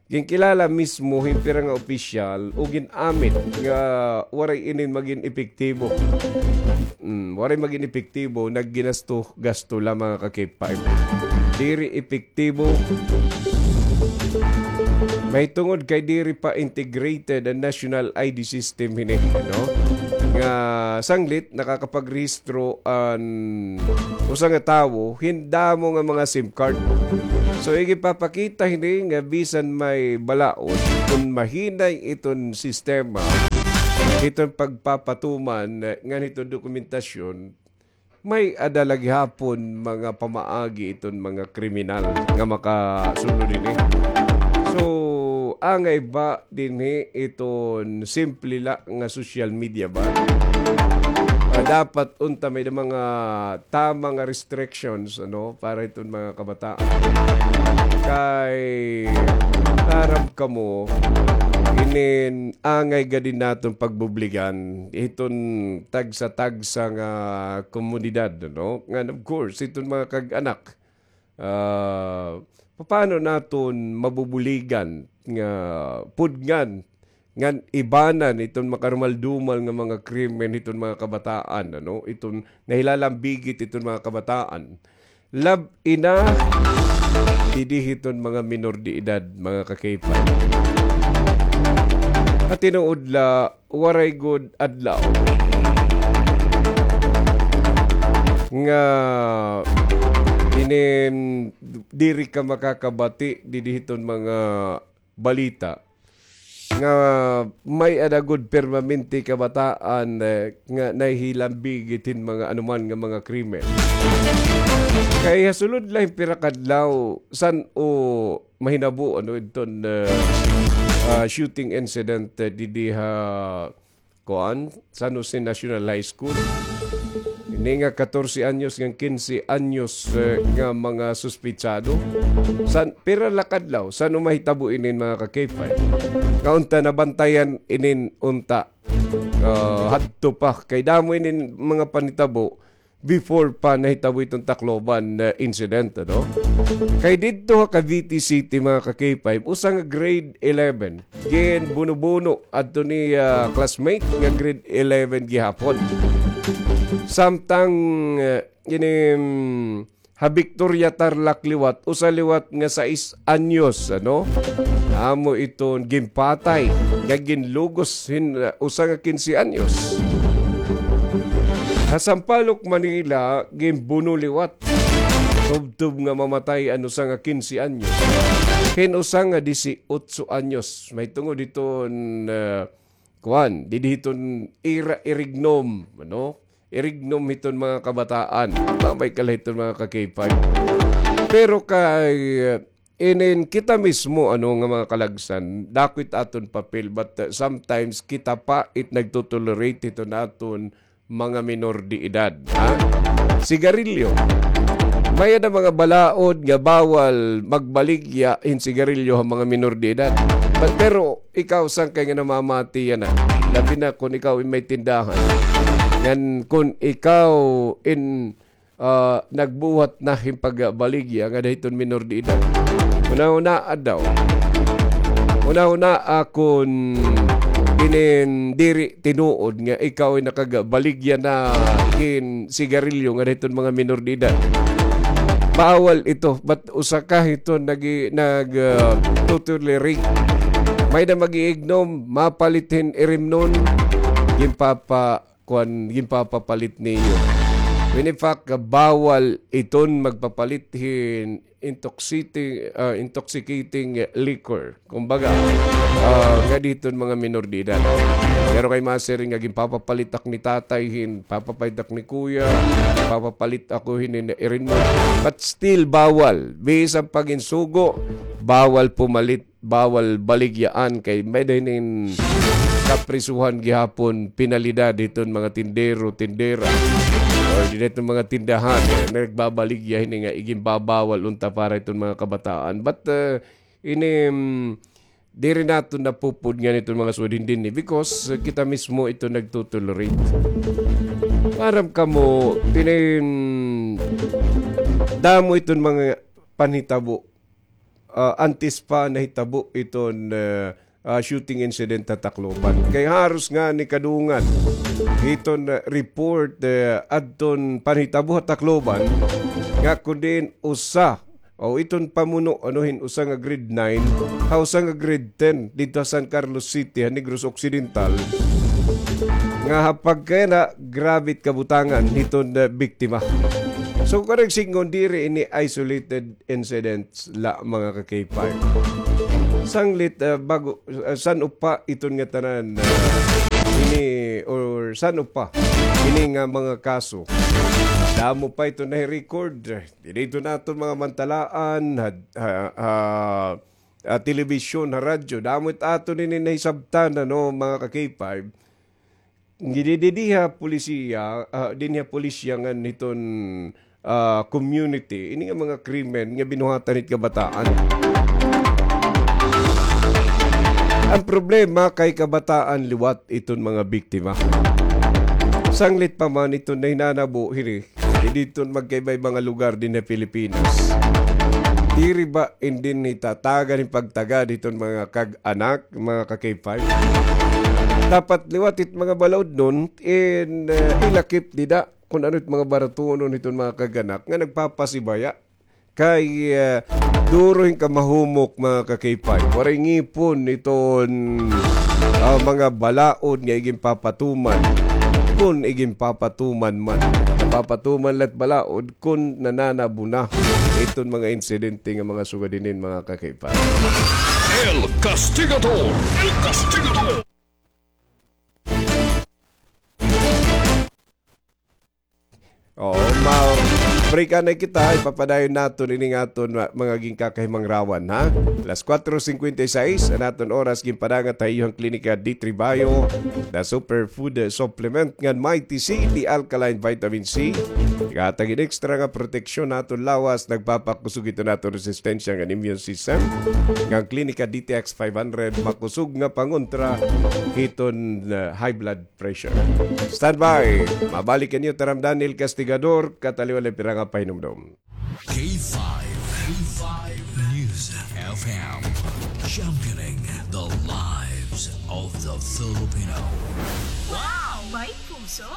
ginkilala mismo hin pira nga opisyal o gin-amit nga waray inin magin epektibo. Mm, waray magin epektibo, nagginasto-gasto la, mga ka-K five. Diri epektibo. Mahitungod kay diri pa integrated an national I D system hini, no? Nga sanglit nakakapagrehistro an usa nga tawo hin damo nga mga SIM card. So, igipapakita hini nga bisan may balaod, kon mahinay iton sistema, iton pagpapatuman ngan iton dokumentasyon, may-ada la gihapon mga pamaagi iton mga kriminal nga makasunod hini. So, angay ba dinhi iton simple la nga social media ba? Ah, dapat unta may-ada mga tama nga restrictions, ano, para iton mga kabataan. Kay, aram kamo, inin angay gad naton pagbubligan iton tagsa-tagsa nga komunidad, no? Ngan, of course, iton mga kag-anak, ah, paano naton mabubuligan nga pudngan ngan ibanan iton makarumal-dumal nga mga krimen hiton mga kabataan, ano? Iton nahilalambigit iton mga kabataan. Lab-i na didi hiton mga minor de edad, mga ka-K five. Ha tinuod la, waray gud adlaw nga inin diri ka makakabati didi hiton mga balita nga may-ada gud permanente kabataan, eh, nga nahihilambigit hin mga anuman nga mga krimen. Kay ha sulod la hin pira ka adlaw, san-o mahinabo, ano, iton, eh, ah, shooting incident, eh, didi ha kuan, San Jose National High School. Ini nga katorse anyos ngan kinse anyos, eh, nga mga suspetsado. San, pira la ka adlaw, san-o mahitabo inin, mga ka-K five? Nga unta nabantayan inin unta, ah, hadto pa. Kay damo inin mga panhitabo before pa nahitabo iton Tacloban, eh, incident, ano? Kay didto ha Cavite City, mga ka-K five, usa nga grade eleven, ginbuno-buno adto ni, ah, classmate nga grade eleven gihapon. Samtang, eh, ini, mm, ha Victoria Tarlac liwat, usa liwat nga sais anyos, ano? Amo iton ginpatay nga ginlugos hin, uh, usa nga kinse anyos. Ha Sampaloc, Manila, ginbuno liwat. Tubtob nga mamatay an usa nga kinse anyos hin usa nga disiotso anyos. Mahitungod hiton, uh, kuan, didi hiton ira irignom, ano? Irignom hiton mga kabataan. Mamay kala hiton mga ka-K five. Pero kay, uh, inin kita mismo, ano, nga mga kalagsan, dako it aton papel, but, uh, sometimes kita pa it nagtotolerate hiton aton mga minor de edad, ha? Sigarilyo. May-ada mga balaod nga bawal magbaligya hin sigarilyo ha mga minor de edad. But, pero ikaw, san kay nga namamati yana? Labi na kon ikaw in may tindahan. Ngan kon ikaw in ah, nagbuhat na hin pagbaligya ngada hiton minor de edad. Hunahunaa daw. Hunahunaa kon inin diri tinuod nga ikaw ay nakagbaligya na hin sigarilyo ngada hiton mga minor de edad. Bawal ito. But usa ka hiton nagi-, nag, ah, totolerate. May-ada mag-iignom, mapalit hin irimnon, ginpapa- kuan, ginpapapalit niyo. When in fact, bawal iton magpapalit hin intoxiti-, ah, intoxicating liquor. Kumbaga, ah, ngada hiton mga minor de edad. Pero kay masiring nga ginpapapalit ak ni tatay hin, papapalit ak ni kuya, papapalit ako hin, hin irin mo. But still, bawal. Bisan pa ginsugo, bawal pumalit, bawal baligyaan kay may-ada hinin kaprisuhan gihapon, penalidad hiton mga tindero, tindera, or dida hiton mga tindahan, eh, nagbabaligya hini nga iginbabawal unta para hiton mga kabataan. But, eh, Ini, mm, diri naton napupud ngan iton mga sugad dinhi because, uh, kita mismo ito nagtotolerate. Maaram kamo, ini, mm, damo iton mga panhitabo, ah, antes pa nahitabo iton, ah, ah, shooting incident ha Tacloban. Kay haros ngani kadungan iton, ah, report, ah, adton panhitabo ha Tacloban nga kun diin usa o iton pamuno, ano, hin usa nga grade nine ha usa nga grade ten didto ha San Carlos City, ha Negros Occidental, nga ha pagkayana, grabe it kabutangan hiton, ah, biktima. So, karuyag sidngon, diri ini isolated incidents la, mga ka-K five. Sanglit, ah, bago, ah, san-o pa iton ngatanan, ah, ini, or san-o pa ini nga mga kaso? Damo pa iton nahi-record. Diri iton aton mga mantalaan, ha, ha, ha, ah, telebisyon, ha radyo. Damo it aton ini nahisabtan, ano, mga ka-K five. Dinhi ha polisiya, ah, dinhi ha polisiya ngan hiton, ah, community, ini nga mga krimen nga binuhatan hit kabataan. An problema kay kabataan liwat iton mga biktima. Sanglit pa man iton nahinanabo hini, didto magkaiba-iba nga lugar dinhi ha Pilipinas. Diri ba inin hitatagan hin pagtagad hiton mga kag-anak, mga ka-K five? Dapat liwat it mga balaod nun, in, eh, ilakip dida kun ano it mga baratunon hiton mga kag-anak nga nagpapasibaya. Kay, eh, duro hin kamahumok, mga ka-K five. Waray ngipon iton, ah, mga balaod nga iginpapatuman. Kun iginpapatuman man. Napapatuman la it balaod kun nananabo na iton mga insidente nga mga sugad hinin, mga ka-K five. El Castigador! El Castigador! Oo, ma-, break anay kita, ipapadayon naton ini nga aton ma-, mga ginkakahimangrawan, ha? Alas kuwatro singkwenta y seis an aton oras, ginpadangat ha iyo han Klinika D three Bio, the superfood, eh, supplement ngan Mighty C, the alkaline vitamin C. Naghatag hin extra nga proteksyon ha aton lawas, nagpapakusog hiton aton resistensya ngan immune system. Ngan Klinika D T X five hundred, makusog nga pangontra hiton, eh, high blood pressure. Standby. Mabalik an iyo taramdan, El Castigador, kataliwan la pira nga pahinumdom. K five, K five News F M, championing the lives of the Filipino. Wow! May puso!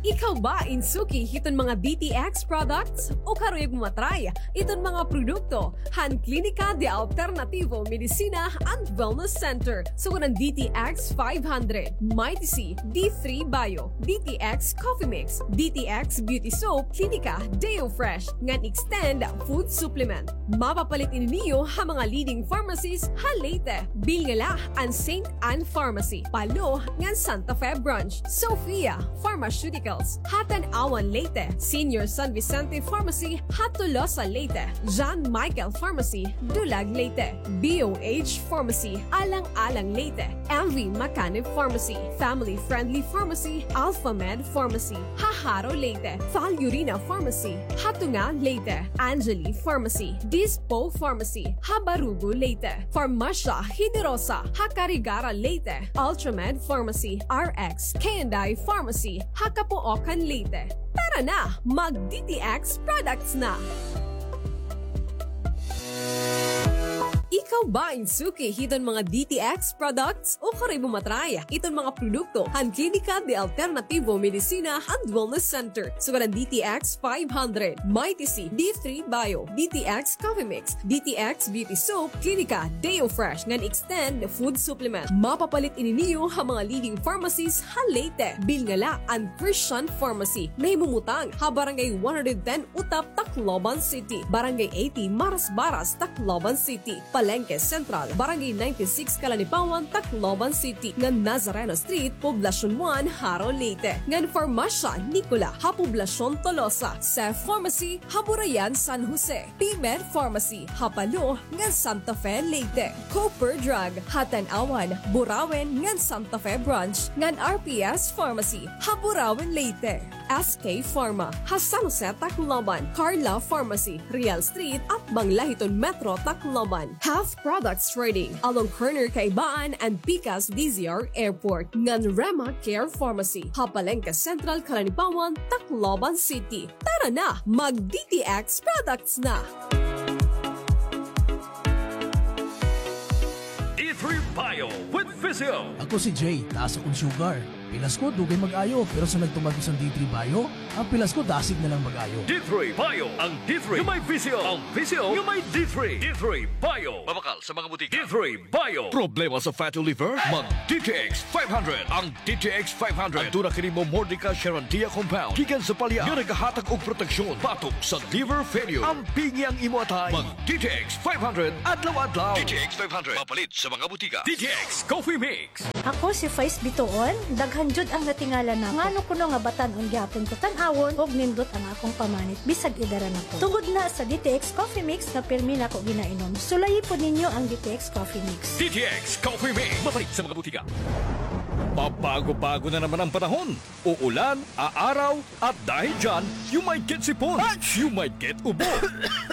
Ikaw ba in suki hiton mga D T X products? O karuyag mo ma-try iton mga produkto han Klinika de Alternativo Medicina and Wellness Center, sugad han D T X five hundred, Mighty C, D three Bio, D T X Coffee Mix, D T X Beauty Soap, Klinika Deo Fresh, ngan Extend Food Supplement. Mapapalit ini niyo ha mga leading pharmacies ha Leyte. Bilnga la an Saint Ann Pharmacy, Palo, ngan Santa Fe Branch, Sofia Pharmaceuticals, ha Tanauan, Leyte, Senior San Vicente Pharmacy, ha Tolosa, Leyte, John Michael Pharmacy, Dulag, Leyte, B O H Pharmacy, Alang-alang, Leyte, M V Macanib Pharmacy, Family Friendly Pharmacy, Alpha Med Pharmacy, ha Jaro, Leyte, Fal Urina Pharmacy, ha Tunga, Leyte, Angeli Pharmacy, Dispo Pharmacy, ha Barugo, Leyte, Farmacia Generosa, ha Carigara, Leyte, Ultramed Pharmacy, R X K and I Pharmacy, ha Capoocan, Leyte. Tara na, mag D T X products na! Ikaw ba in suki hiton mga D T X products? O karuyag mo ma-try iton mga produkto han Klinika de Alternativo Medicina and Wellness Center, sugad han D T X five hundred, Mighty C, D three Bio, D T X Coffee Mix, D T X Beauty Soap, Klinika Deo Fresh, ngan Extend Food Supplement. Mapapalit ini niyo ha mga leading pharmacies ha Leyte. Bilnga la an Christian Pharmacy, nahimumutang ha Barangay one hundred ten Utap, Tacloban City, Barangay eighty Marasbaras, Tacloban City, Palengke Central, Barangay ninety-six, Calanipawan, Tacloban City, ngan Nazareno Street, Poblacion one, Jaro, Leyte, ngan Farmacia Nicola ha Poblacion Tolosa, Cef Pharmacy ha Burayan, San Jose, P-Med Pharmacy ha Palo ngan Santa Fe, Leyte, Cooper Drug ha Tanauan, Burauen ngan Santa Fe Branch, ngan R P S Pharmacy ha Burauen, Leyte, S K Pharma ha San Jose, Tacloban, Carla Pharmacy, Real Street, atbang la hiton Metro Tacloban, Health Products Trading along corner Kaibaan and Pikas D Z R Airport, ngan Rema Care Pharmacy ha Palengke Central, Calanipawan, Tacloban City. Tara na, mag D T X products na! D three Bio with Physio. Ako si Jay, taas akon sugar. Pilas ko, dugay mag-ayo, pero sa nagtumar ko sa D three Bio, ang pilas ko dasig na lang mag-ayo. D three Bio, ang D three nga may Physio, ang Physio nga may D three. D three Bio. Mabakal sa mga butika. D three Bio. Problema sa fatty liver? Mag D T X five hundred. Ang D T X five hundred. Aduna kini momordica charandia compound gikan sa palya nga nagahatag og proteksyon batok sa liver failure. Ampingi ang imo atay. Mag D T X five hundred adlaw-adlaw. D T X five hundred. Mapalit sa mga butika. D T X Coffee Mix. Ako si Faiz Bitoon. Daghan jud ang natingala nako. Ngano kuno nga batan-on gihapon ko tan-awon ug nindot ang akong pamanit bisag edara na ko. Tungod na sa D T X Coffee Mix nga pirmi nako ginainom. Sulayi pod ninyo ang D T X Coffee Mix. D T X Coffee Mix. Mapalit sa mga butika. Pabago-bago na naman ang panahon. Uulan, aaraw, at dahil dyan, you might get sipon, you might get ubo,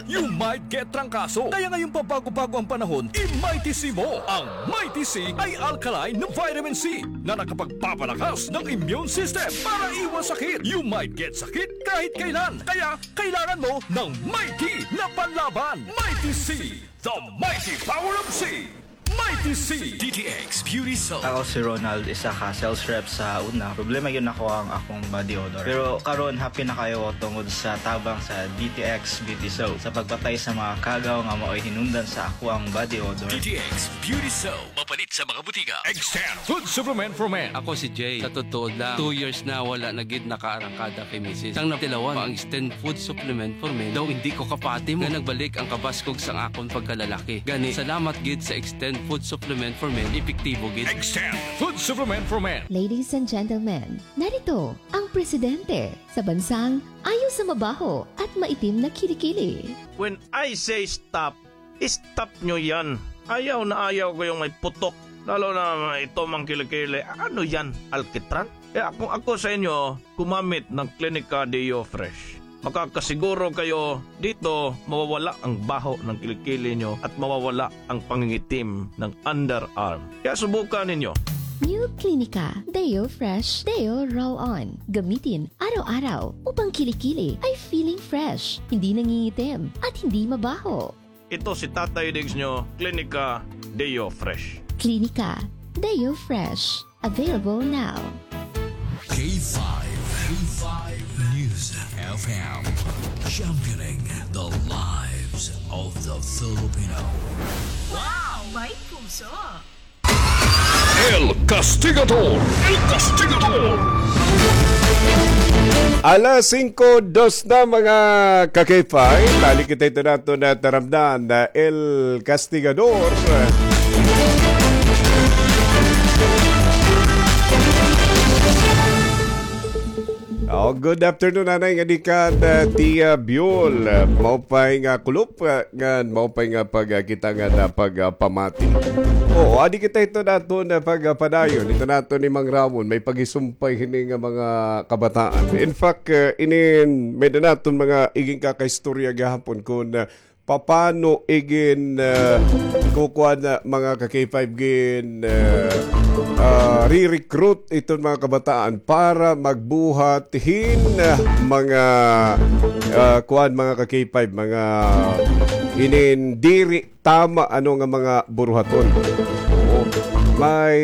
you might get trangkaso. Kaya ngayong pabago-bago ang panahon, i-Mighty C mo. Ang Mighty C ay alkaline na vitamin C na nakapagpapalakas ng immune system para iwas sakit. You might get sakit kahit kailan. Kaya kailangan mo ng Mighty na panlaban. Mighty C, the mighty power of C. Mighty C. D T X Beauty Soap. Ako si Ronald, isa ka sales rep sa una. Problema gyud nako ang akong body odor. Pero karon, happy na kaayo ko tungod sa tabang sa D T X Beauty Soap sa pagpatay sa mga kagaw nga maoy hinungdan sa akoang body odor. D T X Beauty Soap. Mapalit sa mga butika. Extend Food Supplement for Men. Ako si Jay. Sa totoo lang, two years na wala na gid nakaarangkada kay misis. Sang natilawan pa ang Extend Food Supplement for Men, daw indi ko kapati mo nga nagbalik ang kabaskog sang akon pagkalalaki. Gani, salamat gid sa Extend Food Supplement for Men, epektibo gid. Extend Food Supplement for Men. Ladies and gentlemen, narito ang presidente sa bansang ayaw sa mabaho at maitim na kilikili. When I say stop, stop nyo yan. Ayaw na ayaw ko yung may putok. Lalo na ito mang kilikili. Ano yan? Alkitran? Kaya kung ako sa inyo, gumamit ng Clinica Deo Fresh. Makakasiguro kayo dito mawawala ang baho ng kilikili nyo at mawawala ang pangingitim ng underarm. Kaya subukan ninyo. New Clinica Deo Fresh Deo Roll-On. Gamitin araw-araw upang kilikili ay feeling fresh, hindi nangingitim, at hindi mabaho. Ito si Tatay Diggs nyo, Clinica Deo Fresh. Clinica Deo Fresh. Available now. K five, K five News F M, championing the lives of the Filipino. Wow! May puso! El Castigador! El Castigador! Alas singko dos na, mga ka-K five. Balik kita ito nato na taramdan na El Castigador. Oh, good afternoon, Nanay, nga di ka, uh, Tia Biol. Uh, maupay nga kulop, uh, ngan maupay nga pagkita ngan pagpamati. Oo, adi kita ito naton na pagpadayon. Ito naton ni Mang Ramon, may pagisumpay hini nga mga kabataan. In fact, uh, inin, may da naton mga igin kakaistorya gihapon kun, uh, papano igin, uh, kukuan na mga ka-K five gin, uh, uh, re-recruit iton mga kabataan para magbuhat hin, uh, mga, uh, kuan, mga ka-K five, mga inin diri tama, ano, nga mga buruhaton. Oo. May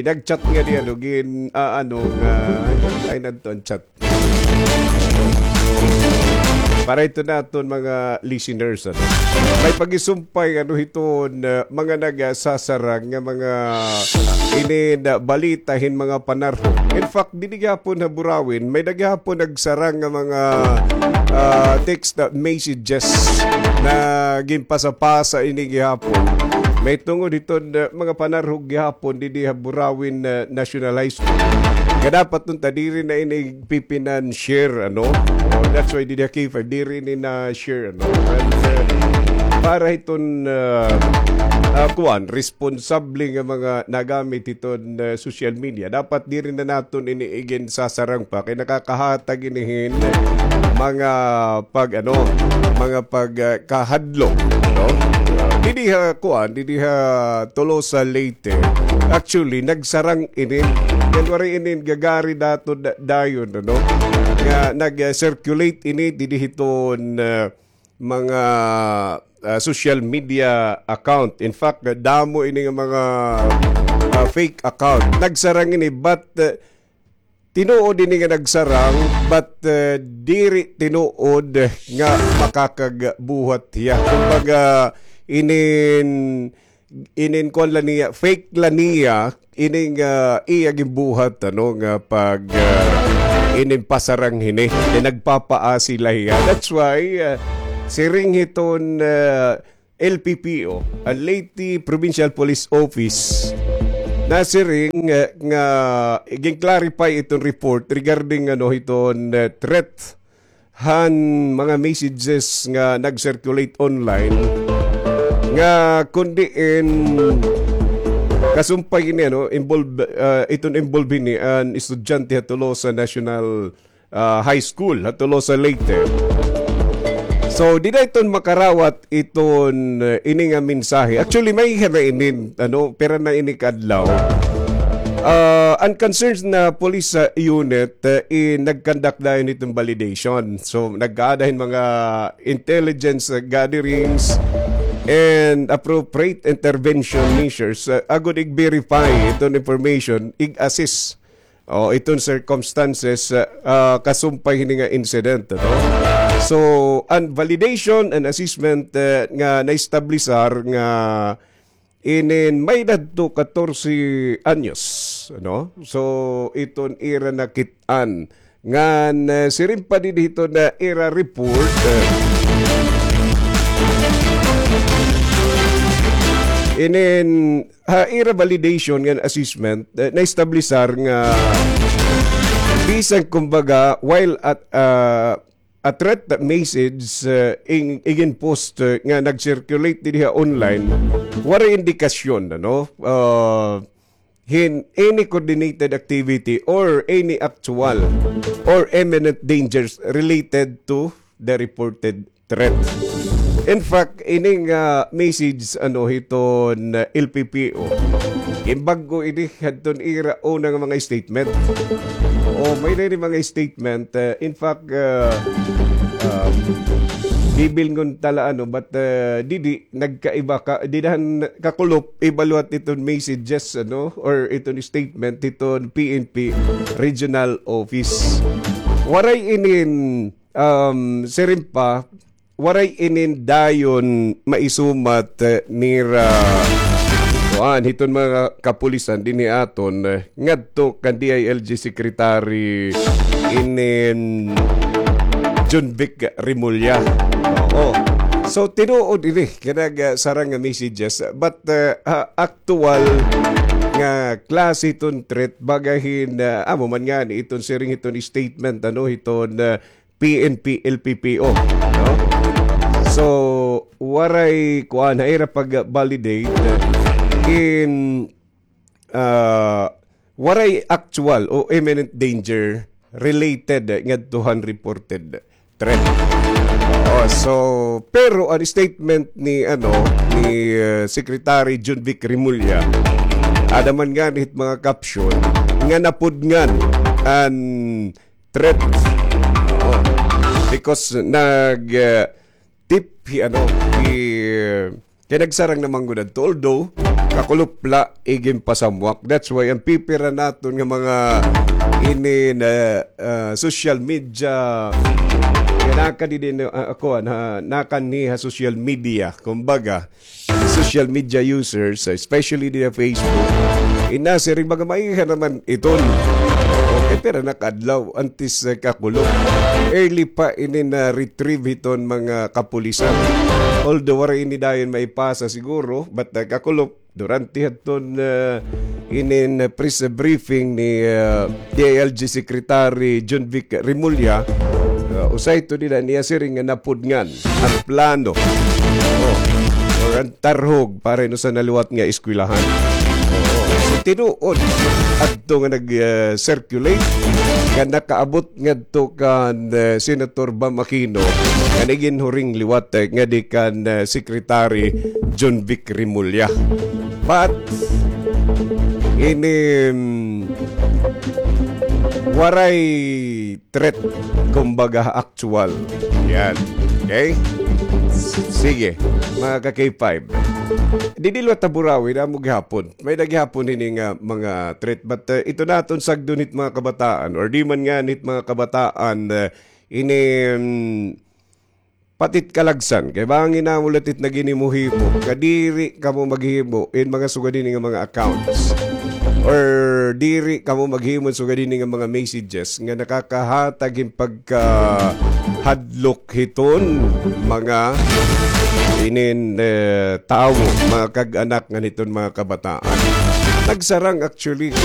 nag-chat nga di, ano, gin, ah, ano, nga, ay, nadto an chat. para ito naton mga listeners, ano? May pagisumpay, ano, hiton, ah, mga nagsasarang nga mga inin, ah, balita hin mga panarhog. In fact, didi gihapon ha Burawin, may-ada gihapon nagsarang nga mga, ah, text, ah, messages na ginpasapasa ini gihapon. May tungod hiton, ah, mga panarhog gihapon didi ha Burawin, ah, National High School. Nga dapat unta diri na ini pipinan-share, ano? Oh, that's why didi ha K five, diri ini na-share, ano? And, uh, para hiton, uh, uh, kuan, responsable nga mga nagamit hiton, uh, social media. Dapat diri na naton ini iginsasarang pa kay nakakahatag ini hin mga pag, ano, mga pag, uh, kahadlok, no? Didi ha, kuan, didi ha Tolosa, Leyte. Actually, nagsarang ini. Yan waray ini gagari dato da-, dayon, ano? Nga nag-circulate ini didi hiton, ah, mga, ah, social media account. In fact, damo ini nga mga, ah, fake account. Nagsarang ini, but, ah, tinuod ini nga nagsarang, but, ah, diri tinuod nga makakagbuhat hiya. Kumbaga, inin inin kuan la niya, fake la niya, ining, ah, iya ginbuhat, ano, nga pag, ah, inin pasarang hini. Kay nagpapaasi la hiya. That's why, ah, siring hiton, ah, L P P O, an Leyte Provincial Police Office, nasiring, ah, nga gin-clarify iton report regarding, ano, hiton, ah, threat han mga messages nga nag-circulate online nga kon diin kasumpay ini, ano, involve, ah, iton involve ini an estudyante ha Tolosa National, ah, High School ha Tolosa, Leyte. So, dida iton makarawat iton, eh, ini nga mensahe. Actually, may hira inin, ano, pira na ini ka adlaw. Ah, an concerns na police, ah, unit, eh, i-, nag-conduct dayon iton validation. So, nagkaada hin mga intelligence, ah, gatherings and appropriate intervention measures, ah, agod i-verify iton information, i-assess o iton circumstances, ah, ah, kasumpay hini nga incident, no? So, an validation and assessment, eh, nga naestablisar nga inin may-edad to katorse anyos, no? So, iton ira nakit-an ngan, eh, siring pa didi hiton ira report, eh, inin ha ira validation ngan assessment, eh, naestablisar nga bisan kumbaga while at, ah, a threat message, eh, in, igin-post, eh, nga nag-circulate didi ha online, waray indikasyon, ano? Ah, hin any coordinated activity or any actual or imminent dangers related to the reported threat. In fact, ini nga message, ano, hiton, uh, L P P O, ginbag-o ini hadton ira una nga mga statement. O, may-ada ini mga statement. Uh, in fact, uh, um, bibilngon ta la, ano, but, uh, didi, nagkaiba ka, dida han kakulop, iba liwat iton messages, ano, or iton statement hiton P N P Regional Office. Waray inin, um, siring pa, waray inin dayon maisumat, eh, nira, kuan, hiton mga kapulisan dinhi aton, eh, ngadto kan D I L G Secretary inin Jonvic Remulla. Oo. So, tinuod ini, kanang, ah, sarang nga messages. But, ah, ah, aktuwal nga klase hiton threat, baga hin, ah, amo man ngani iton siring hiton statement, ano, hiton, ah, P N P L P P O, no? So, waray, kuan, ha ira pag-validate, in, ah, waray actual o imminent danger related ngadto han reported threat. Oh, so, pero an statement ni, ano, ni, uh, Secretary Jonvic Remulla, ada man ngani hit mga caption nga napudngan an threat. Oo. Because nag, uh, tip hi, ano, hi, uh, kay nagsarang na man gud adto. Although, kakulop la, iginpasamwak. That's why an pipira naton nga mga ini na, ah, social media. Kaya naka di din, ah, ako, na, nakanhi ha social media. Kumbaga, social media users, especially di ha Facebook, inasiring mga maiha naman iton. Okay, pero nakadlaw, antes, ah, kakulop. Early pa ini na-retrieve hiton mga kapulisan. Although, wala ini dayon maipasa siguro, but, ah, kakulop, durante haton, ah, inin, ah, press briefing ni, ah, D I L G Secretary John Vic Remulla, ah, usa ito nila niya siring nga napudngan an plano. Oh, or an tarhog para hinusa na liwat nga eskwelahan. Oo. So, tinuod adto nga nag, ah, circulate nga nakaabot ngadto kan, ah, Senator Bam Aquino nga nagin huring liwat, eh, nga di kan, ah, Secretary John Vic Remulla. But, ini, mm, waray threat, kumbaga, actual. Yan. Okay? Sige, mga ka-K five. Didi liwat ha Burawi, namo gihapon. May-ada gihapon ini nga mga threat. But, uh, ito naton sagdon hit mga kabataan, or di man nga hit mga kabataan, uh, ini, mm, pati it kalagsan. Kay bangin namo la it nagin himo-himo. Nga diri kamo maghimo in mga sugad ini nga mga accounts. Or diri kamo maghimo sugad ini nga mga messages nga nakakahatag hin pagkahadlok hiton mga inin, eh, tawo, mga kag-anak ngan hiton mga kabataan. Nagsarang actually,